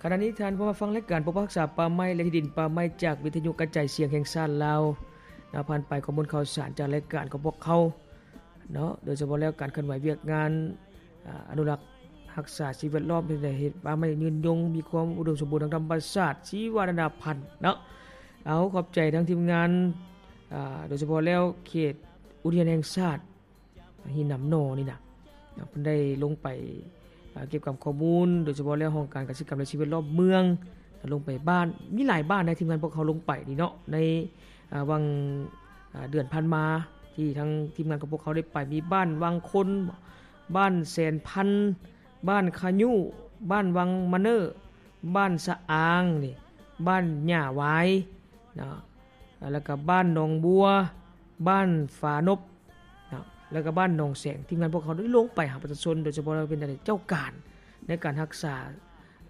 ຂະນະນີ້ທ່ານເຂົ້າມາຟັງລາຍການປົກປັກຮັກສາປ່າໄມ້ ແລະ ທີ່ດິນປ່າໄມ້ ຈາກວິທະຍຸກະຈາຍສຽງແຫ່ງຊາດລາວເນາະ, ຜ່ານໄປຂໍ້ມູນຂ່າວສານຈາກລາຍການຂອງພວກເຮົາເນາະ, ໂດຍສະເພາະແລ້ວການເຄື່ອນໄຫວວຽກງານ ອາ ອະນຸລັກຮັກສາສິ່ງແວດລ້ອມ ເຮັດໃຫ້ເຮັດປ່າໄມ້ຍືນຍົງ ມີຄວາມອຸດົມສົມບູນທາງທຳມະຊາດ ຊີວະນານາພັນເນາະ. ເອົາ ຂອບໃຈທາງທີມງານ ອາ ໂດຍສະເພາະແລ້ວເຂດອຸທະຍານແຫ່ງຊາດ ຫີນໜາມໜໍ່ນີ້ນະ ເພິ່ນໄດ້ລົງໄປ ເກັບກຳຂໍ້ມູນ ໂດຍສະເພາະແລ້ວຫ້ອງການກະສິກຳ ແລະ ສິ່ງແວດລ້ອມເມືອງ ລົງໄປບ້ານ ມີຫຼາຍບ້ານໃນທີມງານພວກເຮົາລົງໄປນີ້ເນາະ ໃນ ອາ ຫວ່າງ ອາ ເດືອນຜ່ານມາ ທີ່ທາງທີມງານຂອງພວກເຮົາໄດ້ໄປ ມີບ້ານວັງຄົນ, ບ້ານແສນພັນ, ບ້ານຂະຍຸ, ບ້ານວັງມະເນີ, ບ້ານສະອາງນີ້, ບ້ານຫຍ້າຫວາຍເນາະ ແລ້ວກະບ້ານໜອງບົວ, ບ້ານຝານົບ ເນາະ ແລ້ວກະບ້ານໜອງແສງ. ທີມງານພວກເຮົາໄດ້ລົງໄປຫາປະຊາຊົນ ໂດຍສະເພາະເປັນເຈົ້າການໃນການຮັກສາ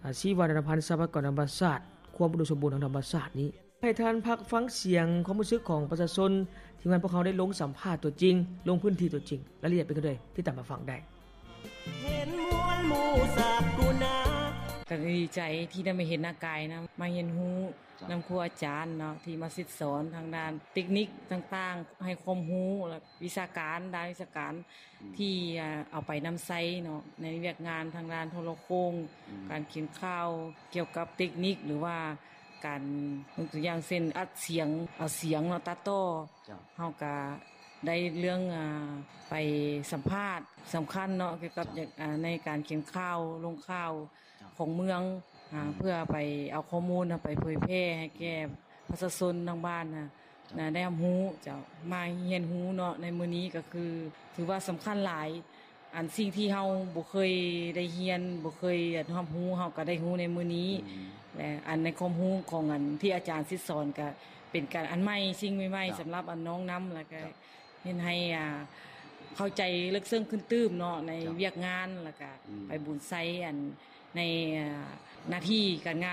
ອາ ຊີວະນານາພັນ ຊັບພະຍາກອນທຳມະຊາດ ຄວາມອຸດົມສົມບູນທາງທຳມະຊາດນີ້. ໃຫ້ທ່ານພັກຟັງສຽງຄວາມຮູ້ສຶກຂອງປະຊາຊົນ ທີມງານພວກເຮົາໄດ້ລົງສຳພາດຕົວຈິງ ລົງພື້ນທີ່ຕົວຈິງ ລາຍລະອຽດເປັນຈັ່ງໃດ ຕິດຕາມມາຟັງໄດ້. ເຫັນມວນໝູສັກກຸນາ ກະດີໃຈທີ່ໄດ້ມາເຫັນໜ້າກາຍນຳ ມາຮຽນຮູ້ ເຈົ້າ ນຳຄູອາຈານເນາະ ທີ່ມາສິດສອນທາງດ້ານເຕັກນິກຕ່າງໆ ໃຫ້ຄວາມຮູ້ ແລະ ວິຊາການ ດ້ານວິຊາການ ອືມ ທີ່ ອາ ເອົາໄປນຳໃຊ້ເນາະ ໃນວຽກງານທາງດ້ານໂທລະໂຄ່ງ ອືມ ການຂຽນຂ່າວ ກ່ຽວກັບເຕັກນິກ ຫຼືວ່າການ ຍົກຕົວຢ່າງເຊັ່ນ ອັດສຽງ ເອົາສຽງເນາະ ຕັດຕໍ່ ເຈົ້າ ເຮົາກະໄດ້ເລື່ອງ ອາ ໄປສຳພາດສຳຄັນເນາະ ກ່ຽວກັບ ເຈົ້າ ອາ ໃນການຂຽນຂ່າວ ລົງຂ່າວ ເຈົ້າ ຂອງເມືອງ ອາ ອືມ ເພື່ອໄປເອົາຂໍ້ມູນນຳໄປເຜີຍແຜ່ໃຫ້ແກ່ ອືມ ປະຊາຊົນທາງບ້ານນະ ເຈົ້າ ນະ ໄດ້ຮັບຮູ້ ເຈົ້າ ມາຮຽນຮູ້ເນາະ ໃນມື້ນີ້ກະຄື ຖືວ່າສຳຄັນຫຼາຍ ອັນສິ່ງທີ່ເຮົາບໍ່ເຄີຍໄດ້ຮຽນ ບໍ່ເຄີຍຮັບຮູ້ ເຮົາກະໄດ້ຮູ້ໃນມື້ນີ້ ອືມ ແລະ ອັນໃນຄວາມຮູ້ຂອງອັນທີ່ອາຈານສິດສອນກະເປັນການອັນໃໝ່ ສິ່ງໃໝ່ໆ ເຈົ້າ ສຳລັບອັນນ້ອງນຳ ແລ້ວກະ ເຈົ້າ ເຮັດໃຫ້ ອ່າ ເຂົ້າໃຈເລິກເຊິ່ງຂຶ້ນຕື່ມເນາະ ໃນ ເຈົ້າ ວຽກງານ ແລ້ວກະ ອືມ ໄປບຸນໄຊ ອັນ ໃນ ອ່າ ໜ້າທີ່ການງານ